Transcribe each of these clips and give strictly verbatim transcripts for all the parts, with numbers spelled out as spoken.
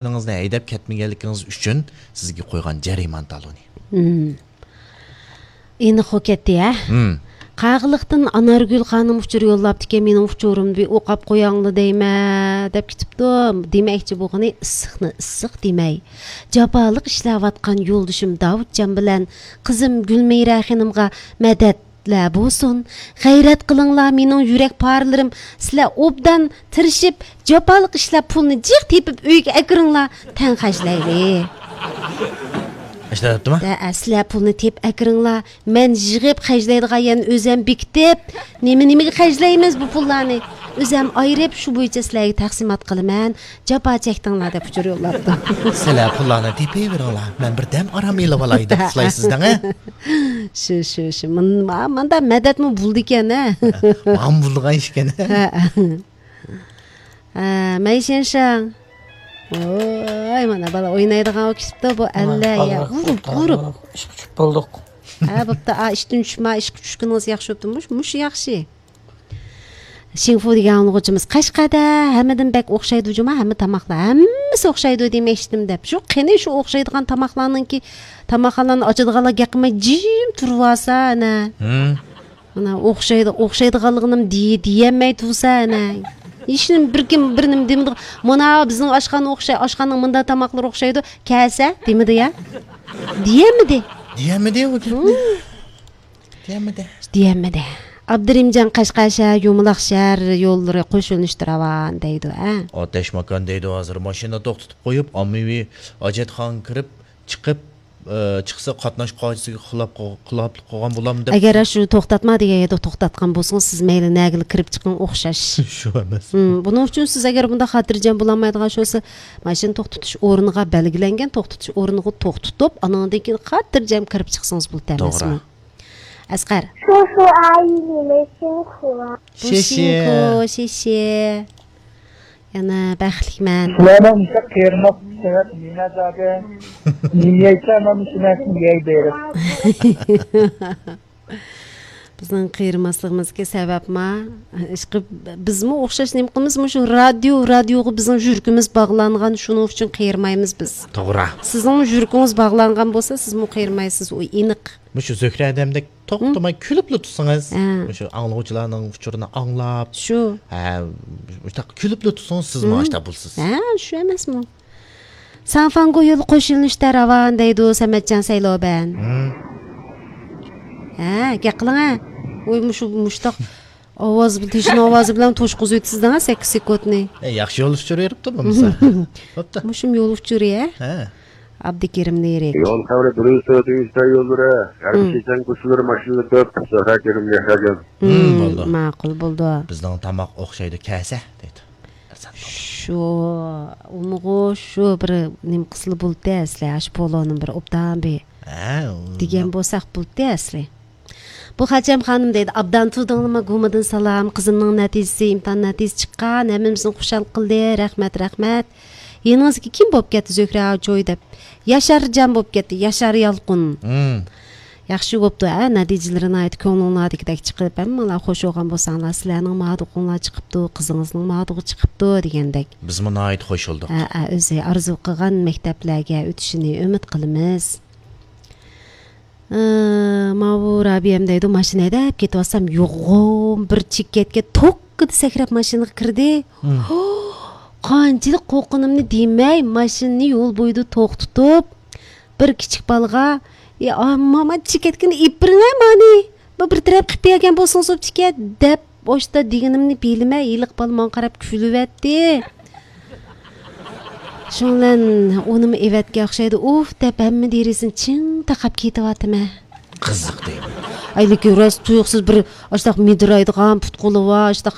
ماشىنىڭىزنى ھەيدەپ كەتمىگەنلىكىڭىز ئۈچۈن سىزگە قويغان جەرىمانە تالونى. مم. ئېنىق بولۇپ كەتتى ھە. مم. قاغىلىقتىن ئانارگۈل خانىم ئۇچۇر يوللاپتىكەن، مېنىڭ ئۇچۇرۇمنى بىر ئوقاپ قوياڭلار دەيمەن دەپ كېتىپتۇ. دېمەكچى بولغىنى ئىسسىقنى ئىسسىق دېمەي. جاپالىق ئىشلەۋاتقان يولدىشىم داۋۇتجان بىلەن قىزىم گۈلمىرە خېنىمغا مەدەتلەر بولسۇن. غەيرەت قىلىڭلار، مېنىڭ يۈرەك پارىلىرىم، سىلەر ئوبدان تىرىشىپ، جاپالىق ئىشلەپ، پۇلنى جىق تېپىپ ئۆيگە ئەكىرىڭلار، تەڭ خەجلەيلى. ئىشلەپتىما؟ دە، سىلەر پۇلنى تېپىپ ئەكىرىڭلار، مەن يىغىپ خەجلەيدىغان يەرنى ئۆزەم بېكىتىپ، نېمە نېمىگە خەجلەيمىز بۇ پۇللارنى، ئۆزەم ئايرىپ، شۇ بويىچە سىلەرگە تەقسىمات قىلىمەن، جاپا چەكتىڭلار دەپ ئۇچۇر يوللاپتۇ. سىلەر پۇللارنى تېپىۋېرىڭلار، مەن بىر دەم ئارام ئېلىۋالاي دەپ ئۇخلايسىز دەڭ، ھە؟ شۇ، شۇ، شۇ. مۇن-، ما-، ماندا مەدەتمۇ بولىدىكەن، ھە؟ ماڭا بولىدىغان ئىش ئىكەن، ھە؟ ھە. ھە، مەيشەنشاڭ. ۋوي، مانا بالا ئوينايدىغان بولۇپ كېتىپتۇ بۇ ئەللە، يا، ئۇرۇپ، ئۇرۇپ. ئىشقا چۈشۈپ بولدۇق. ھە، بوپتۇ، ئا، ئىشتىن چۈشمە، ئىشقا چۈشكىنىڭىز ياخشى بوپتۇ. مۇش-، مۇشۇ ياخشى. شىڭفۇ دېگەن ئاڭلىغۇچىمىز، قەشقەردە ھەممىدىن بەك ئوخشايدۇ جۇما، ھەممە تاماقلار، ھەممىسى ئوخشايدۇ دېمەكچىدىم دەپ. شۇ قېنى شۇ ئوخشايدىغان تاماقلارنىڭكى، تاماقخانىلارنى ئاچىدىغانلار گەپ قىلماي جىم تۇرۇۋالسا، ئەنە. ھىم. مانا ئوخشايدۇ، ئوخشايدىغانلىقىنىمۇ دېي-، دېيەلمەي تۇرسا، ئەنە. ھېچنېمە، بىر كىم، بىر نېمە دېمىدى. مانا بىزنىڭ ئاشخانا ئوخشاي، ئاشخانىنىڭ مۇنداق تاماقلىرى ئوخشايدۇ، كەلسە، دېمىدى يا. دېيەلمىدى. دېيەلمىدى ئۇ گەپنى. ھىم. دېيەلمىدى. دېيەلمىدى. ئابدۇرېھىمجان، قەشقەر شەھەر يۇمىلاق شەھەر يوللىرى قوشۇلۇشتا راۋان دەيدۇ، ھە؟ ئاتەشماكان دەيدۇ، ھازىر ماشىنا توختىتىپ قويۇپ، ئاممىۋى ھاجەتخانىغا كىرىپ، چىقىپ، ئى، چىقسا قاتناش قائىدىسىگە خىلاپ قىل-، خىلاپلىق قىلغان بولامدۇ دەپ. ئەگەر شۇ توختاتما دېگەن يەردە توختاتقان بولسىڭىز، سىز مەيلى نەگىلا كىرىپ چىقىڭ، ئوخشاش. شۇ ئەمەس. ھىم، بۇنىڭ ئۈچۈن سىز ئەگەر بۇنداق خاتىرجەم بولالمايدىغان شۇ بولسا، ماشىنا توختىتىش ئورنىغا، بەلگىلەنگەن توختىتىش ئورنىغا توختىتىپ، ئانىڭدىن كېيىن خاتىرجەم كىرىپ چىقسىڭىز بولىدۇ ئەمەسمۇ؟ توغرا. ئەسقەر. شۇ، شۇ ئاينىمە شىنخۇا. شىشى. شىشى. يەنە بەختلىكمەن. سىلەرنىڭ مۇشۇ قېرىماسلىق سەۋەب نېمە زادى؟ نېمە يەيسەن، مانا شۇ نەرسىنى يەي بېرىپ. بىزنىڭ قېرىماسلىقىمىزغا سەۋەبما؟ ئىشقىلىپ، بىزمۇ ئوخشاش نېمە قىلىمىز؟ مۇشۇ رادىيو، رادىيوغا بىزنىڭ يۈرىكىمىز باغلانغان، شۇنىڭ ئۈچۈن قېرىمايمىز بىز. توغرا. سىزنىڭمۇ يۈرىكىڭىز باغلانغان بولسا، سىزمۇ قېرىمايسىز، ئۇ ئېنىق. مۇشۇ زۆھرە ھەدەمدەك توختىماي كۈلۈپلا تۇرسىڭىز، ھە. مۇشۇ ئاڭلىغۇچىلارنىڭ ئۇچۇرىنى ئاڭلاپ، شۇ. ھە، مۇشۇنداق كۈلۈپلا تۇرسىڭىز، سىزمۇ ھىم. ئاشتا بولىسىز. ھە، شۇ ئەمەسمۇ؟ سانفاڭگو يولى قوشۇلۇشتا راۋان دەيدۇ سەمەتجان سەيلوبەن. ھىم. ھە، گەپ قىلىڭە. ۋوي، مۇشۇ، مۇشتاق ئاۋاز، تېشىنىڭ ئاۋازى بىلەن توشقۇزۇۋېتىسىز دەڭە سەككىز سېكۇنتنى. ئە، ياخشى يول ئۇچۇر بېرىپتۇ بولمىسا. بوپتۇ. مۇشۇم يول ئۇچۇرى، ھە؟ ھە. ئابدۇكېرىم لىرىك. يول خەۋىرى بىرىنچى سۈرئەت ئۆگىنىش يوللىرى، ھەربىي ھىم. چېچەن كوچىلىرى ماشىنىلار كۆپ، زۆھرە كېرىم مېھراجان. ھىم، ھىم، بولدى. ماقۇل بولدى. بىزنىڭ تاماق ئوخشايدۇ، كەلسە دەيدۇ. شۇ، ئۇمۇغۇ شۇ بىر نېمە قىلسىلا بولدى ئەسلى، ئاشۇ پولونىڭ بىر ئوبدان بىر ھە، دېگەن ئۇنداق. بولساق بولدى ئەسلى. بۇ خەچەم خانىم دەيدۇ، ئابدان تۇردۇڭلىما، گۇمىدىن سالام، قىزىمنىڭ نەتىجىسى، ئىمتىھان نەتىجىسى چىققان، ھەممىمىزنى خۇشال قىلدى، رەھمەت، رەھمەت. يېنىڭىزدىكى كىم بولۇپ كەتتى زۆھرە چوي دەپ؟ ياشارجان بولۇپ كەتتى، ياشار يالقۇن. ھىم. ياخشى بوپتۇ، ھە، نەتىجىلىرى ناھايىتى كۆڭلۈڭلاردىكىدەك چىقىپ، ھەممىڭلار خوش بولغان بولساڭلار، سىلەرنىڭ مادۇقۇڭلار چىقىپتۇ، قىزىڭىزنىڭ مادۇقى چىقىپتۇ دېگەندەك. بىزمۇ ناھايىتى خوش بولدۇق. ھە، ھە، ئۆزى ئارزۇ قىلغان مەكتەپلەرگە ئۆتۈشىنى ئۈمىد قىلىمىز. ئى، ماۋۇ رابىيەم دەيدۇ، ماشىنا ھەيدەپ كېتىۋاتسام، يوغان بىر چېكەتكە توككىدە سەكرەپ ماشىنىغا كىردى. ھىم. قانچىلىك قورققىنىمنى دېمەي، ماشىنىنى يول بويىدا توختىتىپ، بىر كىچىك بالىغا، «يا، ماما، چېكەتكىنى ئېلىپ بېرىڭە مانى، بۇ بىر تەرەپ قىلىپ بەرگەن بولسىڭىز بوپتىكەن» دەپ، ئاشتا دېگىنىمنى بىلمەي، ھېلىقى بالا ماڭا قاراپ كۈلۈۋەتتى. شۇنىڭ بىلەن ئۇنىمۇ ئېۋەتكەن ئوخشايدۇ، ئۇھ دەپ ھەممە دېرىزىنى چىڭ تاقاپ كېتىۋاتىمەن. قىزىق دەيمەن. ئەي، لېكىن راست تۇيۇقسىز بىر ئاشتاق مىدىرايدىغان پۇت-قولى بار، ئاشتاق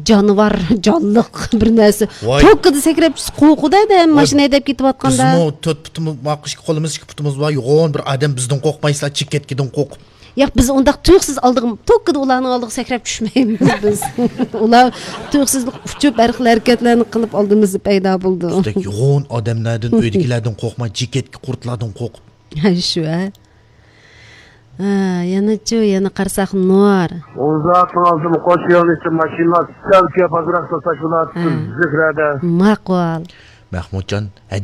جانىۋار، جانلىق بىر نەرسە. ۋاي. توككىدا سەكرەپ چۈشسە قورقىدۇ ئادەم، ۋاي. ماشىنا ھەيدەپ كېتىۋاتقاندا. بىزمۇ تۆت پۇتىمىز، ماقۇ ئىككى قولىمىز، ئىككى پۇتىمىز بار، يوغان بىر ئادەم بىزدىن قورقمايسىلا، چېكەتكىدىن قورقۇپ. ياق، بىز ئۇنداق تۇيۇقسىز ئالدىغا، توككىدا ئۇلارنىڭ ئالدىغا سەكرەپ چۈشمەيمىز بىز. ئۇلار تۇيۇقسىز ئۇچۇپ، ھەر خىل ھەرىكەتلەرنى قىلىپ ئالدىمىزدا پەيدا بولىدۇ. بىزدەك يوغان ئادەملەردىن، ئۆيدىكىلەردىن قورقماي، چېكەتكە قۇرتلاردىن قورقۇپ. ھە، شۇ، ھە. ھە، يەنىچۇ، يەنە قارىساق نۇر. ئۇزاقتىن ئالدىم قوش يۆنىلىشتە ماشىنىلار سەل كۆپ ئازراق توساش بولاتتى ھە. زۆھرەدە. ماقۇل. مەخمۇتجان، ھە،